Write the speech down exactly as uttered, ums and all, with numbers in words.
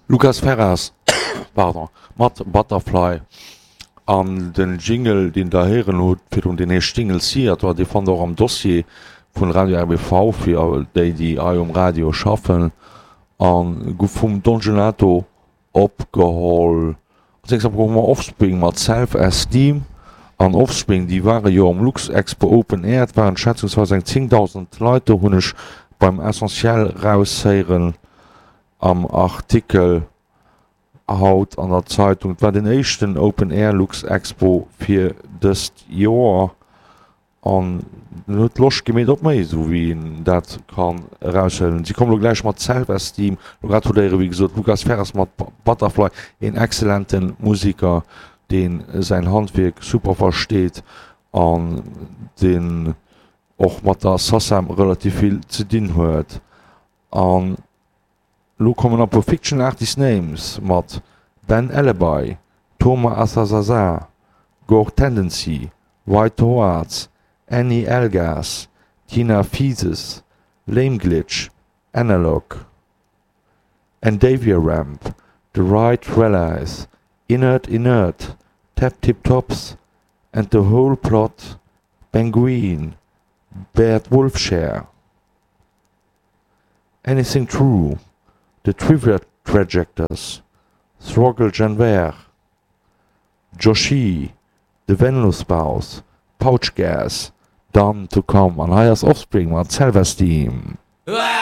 Lucas Ferraz, pardon, mat Butterfly an den Jingle, deen der héieren hutt virdrun, deen heescht Jingle Theater, dee fannt der och am Dossier vun Radio R B V fir déi, déi hei um Radio schaffen, an guff vum Don Gelato opgeholl. Als nächst hu mer Offspring mat Self Esteem. An Offspring, déi ware jo am Luxexpo Open Air, et waren schätzungsweis eng zéngdausend Leit do, hunn ech beim Essentiel raushéieren am Artikel haut an der Zeitung. Et war den éischten Open Air Luxexpo fir dëst Joer an en huet Loscht gemeet op méi, esou wéi een dat kann eraushuelen. Si kommen elo gläich mat Self Esteem. Elo grad hutt Dir, wéi gesot, Lucas Ferres mat Butterfly, een exzellente Musiker, dee säin Handwierk super versteet an deen och mat der SACEM relativ vill ze dinn huet. An elo kommen e puer Fiction Artist Names mat Ben Alibi, Toma Asazaza, Gore Tendency, White Towards, Annie Elgas, Tina Thesis, Lame Glitch, Analog, Endavia Ramp, The Right Rallies, Inert Inert, Tap Tip Tops, and the Whole Plot, Benguin, Bert Wolfshare, Anything True, The Trivia Trajectors, Throggle Janver, Joshi, The Venlo Spouse, Pouch Gas, Done to Come an hei ass Offspring mat Self Esteem. Ah!